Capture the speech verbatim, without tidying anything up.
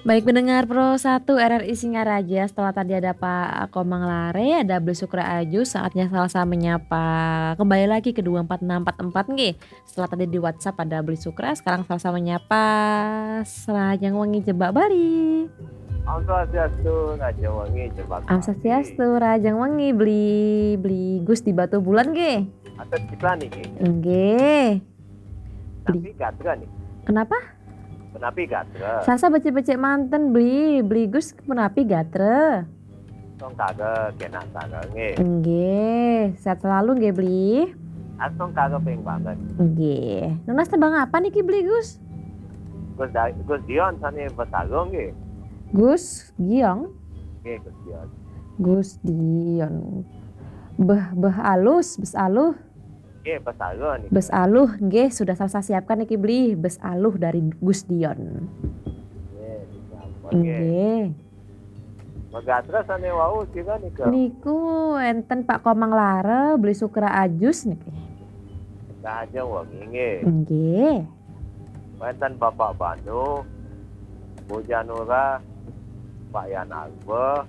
Baik, pendengar Pro satu R R I Singaraja, setelah tadi ada Pak Komang Lare, ada Beli Sukra Aju, saatnya Salsa Menyapa. Kembali lagi ke dua empat enam empat empat nggih. Setelah tadi di WhatsApp ada Beli Sukra, sekarang Salsa Menyapa. Rahajeng wengi Jebak Bali. Om Swastiastu, Rahajeng wengi Jebak Om Swastiastu, rahajeng wengi Beli, Beli Gus di Batubulan nggih. Atas kita niki. Nggih. Tapi gatra nih. Kenapa? Menapi gatra. Salsa becik-becik manten Beli, Beli Gus menapi gatra. Song kaga kena kaga nggih. Nggih, sehat selalu nggih Beli. Asong kaga ping banget. Nggih. Nunas tembang apa niki Beli Gus? Gus Da- Gus Dion sane Besagung nggih. Gus Giong, Nggih Gus Dion. Gus Dion. Beh beh alus, bes aluh, Nggih Besagung nih. bes aluh nggih sudah saya siapkan niki Beli, bes aluh dari Gus Dion. Nggih. Sampun nggih. Nggih. Megatra sane wau sira nika. Niku enten Pak Komang Lare, Beli Sukra Ajus niki. Rahajeng wengi nggih. Nggih. Wenten Bapak Banu, Bu Janura, Pak Yan Arba,